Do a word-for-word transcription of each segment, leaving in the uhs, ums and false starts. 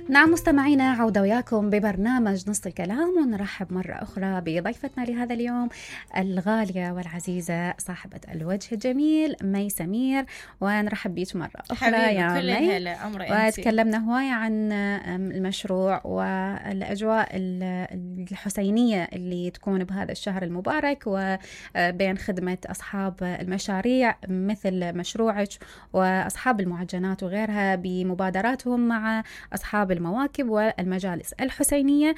نعم مستمعينا، عودة وياكم ببرنامج نص الكلام، ونرحب مرة أخرى بضيفتنا لهذا اليوم الغالية والعزيزة صاحبة الوجه الجميل مي سمير، ونرحب بيك مرة أخرى يا مي. وتكلمنا هواية عن المشروع والأجواء الحسينية اللي تكون بهذا الشهر المبارك، وبين خدمة أصحاب المشاريع مثل مشروعك وأصحاب المعجنات وغيرها بمبادراتهم مع أصحاب المواكب والمجالس الحسينية.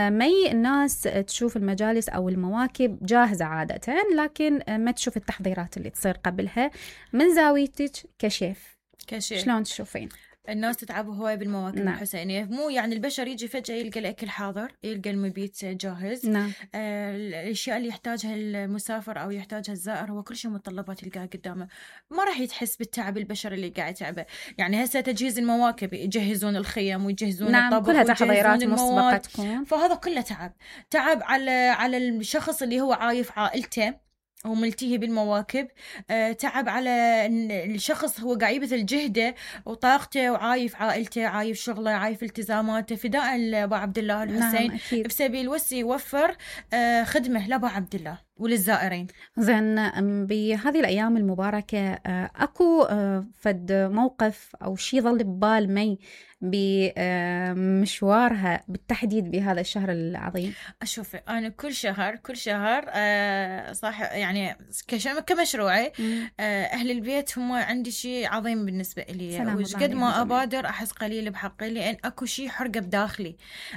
مي الناس تشوف المجالس أو المواكب جاهزة عادة، لكن ما تشوف التحضيرات اللي تصير قبلها. من زاويتك كشيف كشيف شلون تشوفين؟ الناس تتعب هواي بالمواكب نعم. الحسينية، مو يعني البشر يجي فجأة يلقى الأكل حاضر، يلقى المبيت جاهز. نعم. آه الأشياء اللي يحتاجها المسافر أو يحتاجها الزائر هو كل شيء متطلبات يلقاها قدامه، ما راح يتحس بالتعب البشر اللي قاعد يتعبه. يعني هسه تجهيز المواكب، يجهزون الخيم ويجهزون نعم. الطبخ كلها تحضيرات مسبقة تكون، فهذا كله تعب تعب على على الشخص اللي هو عايف عائلته وملتهي بالمواكب. أه تعب على الشخص هو قاعد يبذل جهده وطاقته وعايف عائلته، عايف شغله، عايف التزاماته فداء لأبو عبد الله الحسين. نعم بسبيل وسي يوفر أه خدمه لأبو عبد الله وللزائرين. زين، بهذه الأيام المباركة أكو فد موقف أو شيء ظل ببال مي بمشوارها بالتحديد بهذا الشهر العظيم؟ أشوف أنا كل شهر كل شهر أه صح، يعني كمشروعي أه أهل البيت هم عندي شيء عظيم بالنسبة لي، وش قد ما أبادر أحس قليل بحقي، لأن أكو شيء حرقة بداخلي،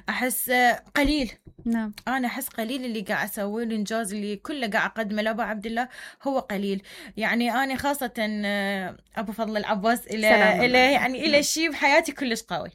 أحس أه قليل. نعم. أنا أحس قليل اللي قاعد أسويه، الإنجاز اللي كله قاعد أقدمه لأبو عبد الله هو قليل. يعني أنا خاصة أبو فضل العباس إلى إلى يعني إلى شيء بحياتي كلش قوي.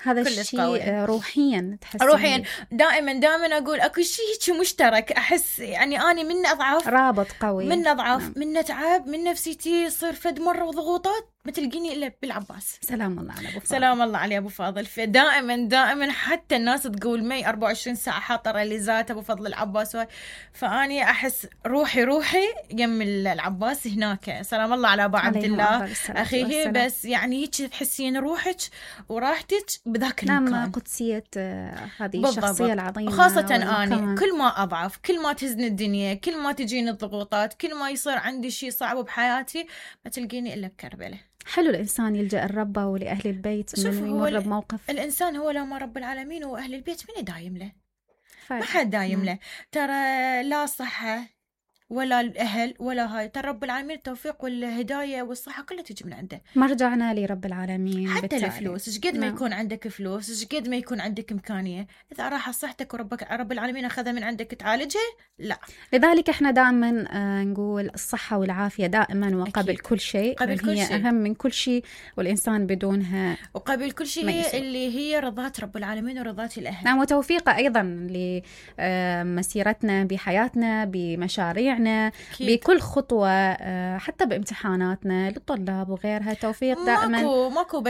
هذا الشيء روحيا تحس روحيا دائما دائما أقول أكو شيء مشترك، أحس يعني أنا من أضعف رابط قوي، من أضعف نعم. من نتعب من نفسيتي صير فد مرة وضغوطات ما تلقيني إلا بالعباس. سلام الله على أبو فاضل. سلام الله على أبو فاضل. فدائما دائما حتى الناس تقول مي أربعة وعشرين ساعة حاطة ريليزات أبو فضل العباس، فأني أحس روحي روحي يم العباس هناك. سلام الله على أبو عبد الله أخيه. بس يعني هيك تحسين روحك وراحتك بذاك المكان. نعم، قدسية هذه الشخصية العظيمة. خاصة أنا كل ما أضعف، كل ما تهزني الدنيا، كل ما تجيني الضغوطات، كل ما يصير عندي شيء صعب بحياتي ما تلقيني إلا بكربلة. حلو الإنسان يلجأ الرب ولأهل البيت من يمر بموقف. الإنسان هو لما رب العالمين وأهل البيت من دايم له، ما حد دايم له. ترى لا صحة ولا الأهل ولا هاي، ترى رب العالمين التوفيق والهداية والصحة كلها تجي من عنده. مرجعنا لرب العالمين. حتى بالتالي الفلوس، ايش قد ما يكون عندك فلوس، ايش قد ما يكون عندك إمكانية، إذا راح صحتك وربك رب العالمين أخذها من عندك تعالجها، لا. لذلك احنا دائما نقول الصحة والعافية دائما وقبل أكيد. كل شيء، قبل كل هي شيء. أهم من كل شيء، والإنسان بدونها وقبل كل شيء هي اللي هي رضات رب العالمين ورضات الأهل. نعم، وتوفيقه أيضا لمسيرتنا بحياتنا بمشاريعنا أكيد. بكل خطوة، حتى بامتحاناتنا للطلاب وغيرها، توفيق دائما. ماكو ماكو